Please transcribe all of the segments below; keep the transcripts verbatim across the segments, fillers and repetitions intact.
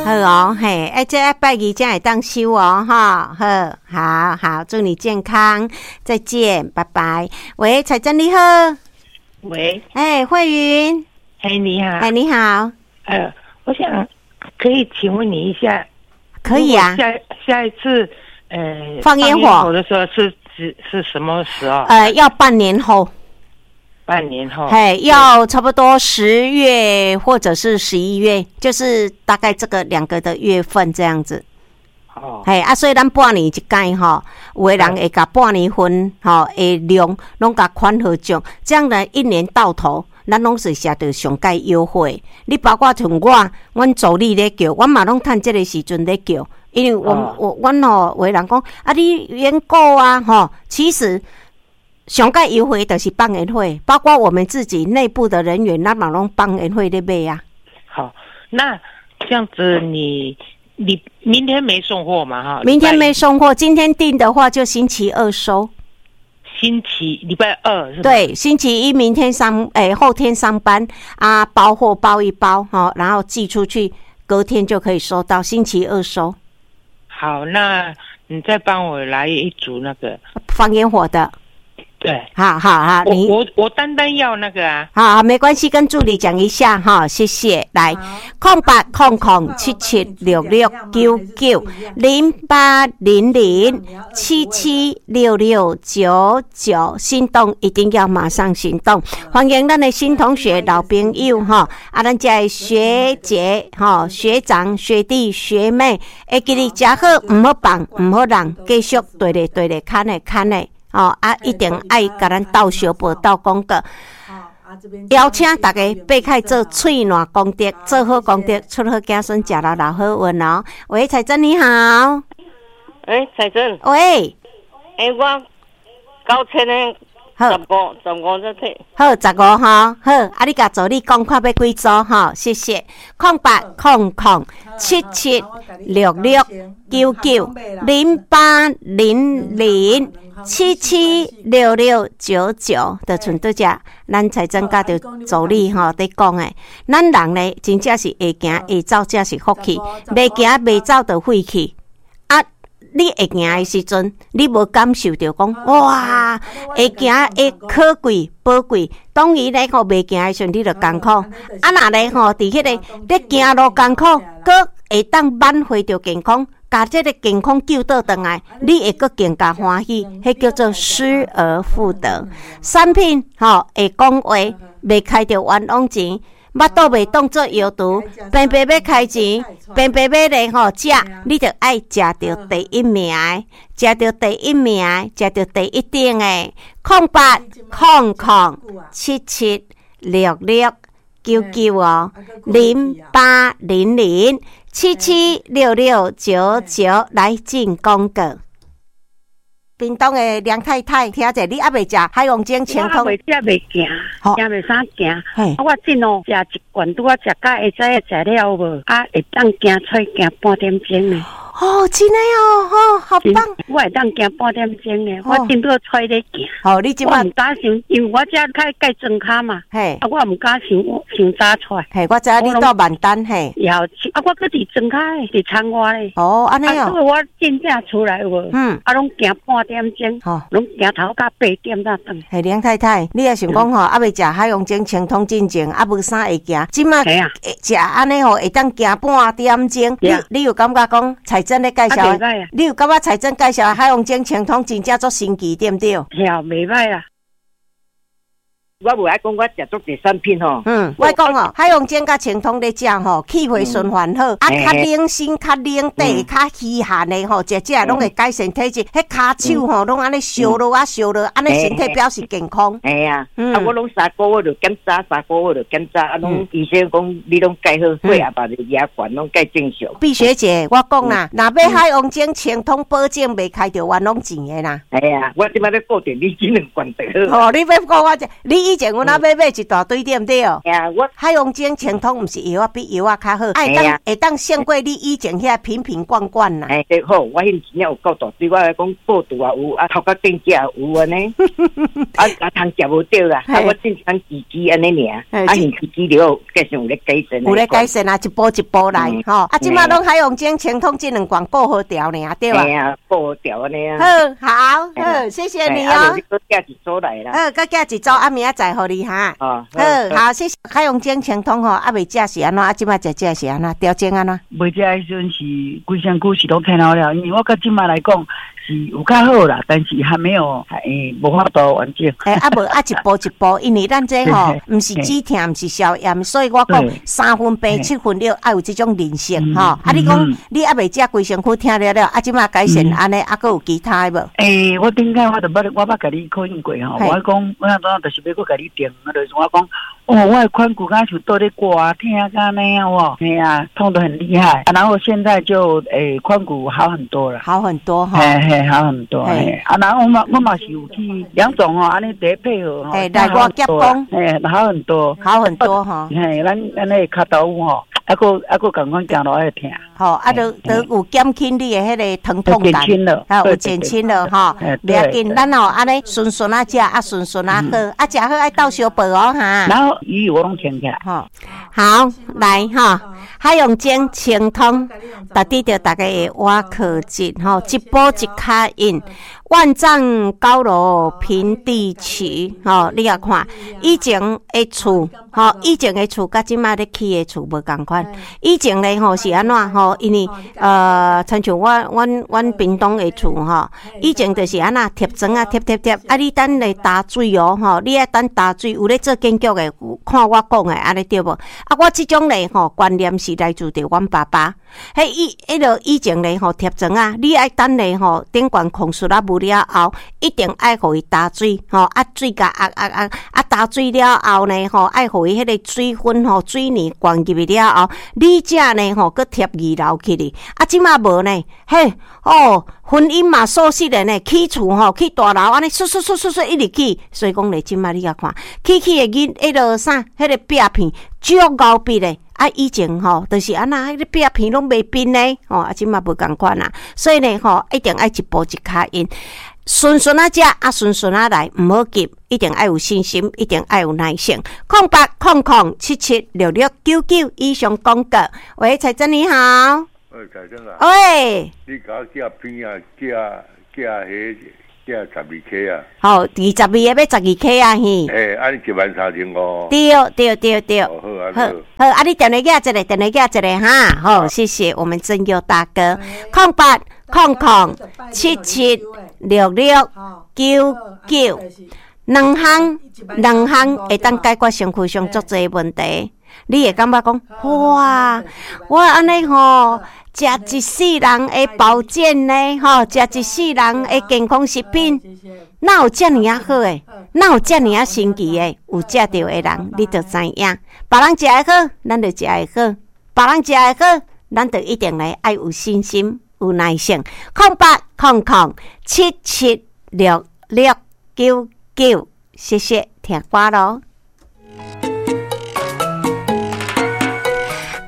好哦，嘿，欸，這拜二才會當收哦，哈，好，好好，祝你健康，再見，拜拜。喂，彩珍你好。喂。欸，慧雲。嘿，你好。哎，你好。呃，我想可以請問你一下。可以啊。下下一次，呃，放煙火的時候是是是什麼時候？呃，要半年後。半年後，嘿，要差不多十月或者是十一月，就是大概這個兩個的月份這樣子。哦，嘿，啊，所以咱半年一擺吼，有的人會共半年份吼的量攏共款好種，這樣呢，一年到頭，咱攏是食著上蓋優惠。你包括像我，阮助理咧叫，阮嘛攏趁這個時陣咧叫，因為我我阮吼有的人講啊，你員購啊，吼，其實。上蓋優惠就是放煙火，包括我們自己內部的人員，咱嘛攏放煙火咧買啊。好，那這樣子你你明天沒送貨嘛？哈，明天沒送貨，今天訂的話就星期二收。星期禮拜二是？對，星期一明天上，欸，後天上班啊，包貨包一包哈，然後寄出去，隔天就可以收到，星期二收。好，那你再幫我來一組那個放煙火的。對，好好好，你我我單單要那個啊，好好沒關係，跟助理講一下哈，謝謝。來，空八空空七七六六九九零八零零七七六六九九，心動一定要馬上行動。歡迎咱的新同學、老朋友哈，啊，咱這的學姐哈、學長、學弟、學妹，會記得食好，毋好放，毋好讓，繼續綴咧綴咧，牽咧牽咧。哦啊，一定愛共咱鬥相報、鬥廣告，邀請大家爬開做喙瀾功德，做好功德，出好子孫，食了老好運哦。喂，彩珍你好。欸，彩珍。喂。欸，我九千的好，十五十五才提。好，十五吼，好，啊，你共助理講看欲幾組吼，謝謝。空八空空七七六六九九零八零零七七六六九九，就賰拄才，咱彩珍佮著助理吼佇講的，咱人呢真正是會行會走才是福氣，袂行袂走就廢去。啊，你會行的時陣，你無感受著講哇，會行會可貴寶貴。當伊咧吼袂行的時陣，你就艱苦。啊，若咧吼佇彼個咧行路艱苦，閣會當挽回著健康，共這個健康救倒轉來，你會閣更加歡喜。彼叫做失而復得。產品吼會講話，袂開著冤枉錢。腹肚袂當做藥櫥，平白欲開錢，平白欲咧吼食，你著愛食著第一名的，食著第一名，食著第一等的。空八空空七七六六九九哦，零八零零七七六六九九來進廣告。屏東的梁太太，聽者你猶未食海王精清湯？我袂食袂行，行袂啥行。啊，我真哦，食一罐拄仔食甲會知影食了無？啊，會當行出行半點鐘呢。哦，真的哦，哦，好棒！我會當行半點鐘呢，我真拄揣咧行。好，你這擺我毋敢傷，因為我遮較蓋莊跤嘛。嘿，啊，我毋敢傷傷早出來。嘿，我知影你蹛萬丹嘿。然後啊，我閣佇莊跤的，佇田外咧。哦，按呢哦。所以我真正出來有無？嗯。啊，攏行半點鐘。吼。攏行頭到八點才轉。嘿，梁太太，你也想講吼，猶未食海王精清湯進前，猶無啥會行，這擺食按呢吼，會當行半點鐘。你你有感覺講彩珍咧介紹？你有感覺彩珍介紹海王精清湯真正足神奇，對毋對？嘿啊，袂䆀啦。我無愛講，我食足濟產品吼。嗯，我講哦，海王精佮清湯咧食吼，氣血循環好，啊，較冷身、較冷底、較虛寒的吼，食食攏會改善體質。彼跤手吼，攏按呢燒落啊燒落，按呢身體表示健康。嘿啊，啊，我攏三個月就檢查，三個月就檢查，啊，攏醫生講你攏蓋好，血壓嘛壓懸，攏蓋正常。畢學姐，我講啦，若欲海王精清湯保證袂開著冤枉錢的啦。嘿啊，我這擺欲固定你這兩罐就好。哦，你欲顧我這，你以前阮仔買買一大堆，對毋對？啊，我海洋精清湯毋是藥仔比藥仔較好，會當會當勝過你以前遐瓶瓶罐罐啦。欸，對好，我彼真正有夠大堆，我來講報肚也有，啊頭殼頂遮也有按呢，啊啊通食無著啦，啊我正常自己按呢爾，啊現自己了，計算有咧改善。有咧改善啊，一步一步來吼。啊，這馬攏海洋精清湯這兩罐顧好調爾，對吧？嘿啊，顧好調按呢啊。好，好，好，謝謝你哦。你閣寄一組來啦。好，閣寄一組，啊明仔載予你哈。哦，好，好，謝謝。海洋精清湯吼，啊未食是按怎？啊這馬食食是按怎？調整按怎？未食的時陣是規身軀是攏疼了了，因為我到這馬來講是有較好啦，但是還沒有欸無法度完整。欸啊無啊一步一步，因為咱這吼毋是止疼，毋是消炎，所以我講三分病七分了，愛有這種認識吼。啊，你講你猶未食規身軀疼了了，啊這馬改善按呢，啊閣有其他的無？欸，我頂擺我就捌我捌共你考驗過吼，我講我當就是欲閣共你訂，就是我講。哦，我的髋骨敢像倒咧割疼甲按呢哦，嘿啊，痛得很厲害。啊，然後現在就欸髖骨好很多了，好很多哈，嘿嘿，好很多。嘿，啊，然後我嘛我嘛是有去兩種哦，按呢佇配合吼，嘿，來我夾講，嘿，好很多，好很多吼。嘿，咱咱那个跤頭吼，啊閣啊閣仝款行路會疼。吼，啊，就就有減輕你的彼个疼痛感，啊，有減輕了吼。袂要緊，咱吼按呢順順仔食，啊順順仔好，啊食好愛鬥相報哦哈。然後魚我攏停起來。吼，好，來吼，海洋精清湯，特佇著逐家的倚靠質吼，一步一跤印，萬丈高樓平地起，吼，你也看以前的厝，吼，以前的厝佮這馬咧起的厝無仝款。以前咧吼是按怎吼？因為呃，親像我阮阮屏東的厝吼，以前就是按怎貼磚仔貼貼貼，啊，你等咧焦水哦吼，你愛等焦水，有咧做建築的，看我講的按呢對無？啊，我這種咧吼觀念是來自著阮爸爸。彼以彼落以前咧吼貼磚仔，你愛等咧吼頂懸控術啊無了後，一定愛予伊焦水吼，啊水共壓壓壓，啊焦水了後呢吼，愛予伊彼个水分吼水泥灌入去了後，你才呢吼閣貼二樓去哩。啊，這馬無呢，嘿哦，婚姻嘛鎖實的呢，起厝吼起大樓按呢，唰唰唰唰唰一直起，所以講咧，這馬你共看，起起的囡彼落啥，彼个壁片足𠢕筆的。啊，以前吼，就是按怎，彼个壁片攏袂變呢，吼，啊，這馬無仝款啊，所以呢，吼，一定愛一步一跤印，順順仔食，啊，順順仔來，毋好急，一定愛有信心，一定愛有耐性。空八空空七七六六九九以上廣告。喂，彩珍你好。喂，彩珍啊。喂。你共我寄片啊，寄寄彼寄十二顆啊。好，二十二個欲十二顆啊，嘿。欸，按呢一萬三千五。對對對對。好啊，好，好，啊，你電話寄一个，電話寄一个哈。好，謝謝我們正佑大哥。空八空空七七六六九九，兩項兩項會當解決身軀上足濟問題。你會感覺講，哇，我按呢吼，食一世人的保健呢，吼，食一世人的健康食品，哪有遮爾仔好的？哪有遮爾仔神奇的？有食著的人，你就知影。別人食會好，咱就食會好；別人食會好，咱就一定來愛有信心、有耐性。空八空空七七六六九九，謝謝聽歌囉。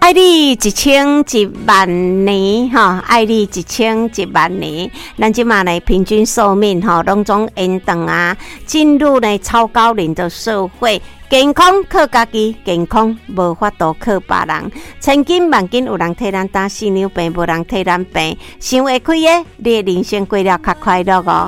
愛你一千一萬年，吼！愛你一千一萬年。咱這馬呢，平均壽命吼，攏總延長啊，進入呢超高齡的社會。健康靠家己，健康無法度靠別人。千金萬金有人替咱擔四兩病，無人替咱病。想會開的，你的人生過了較快樂哦。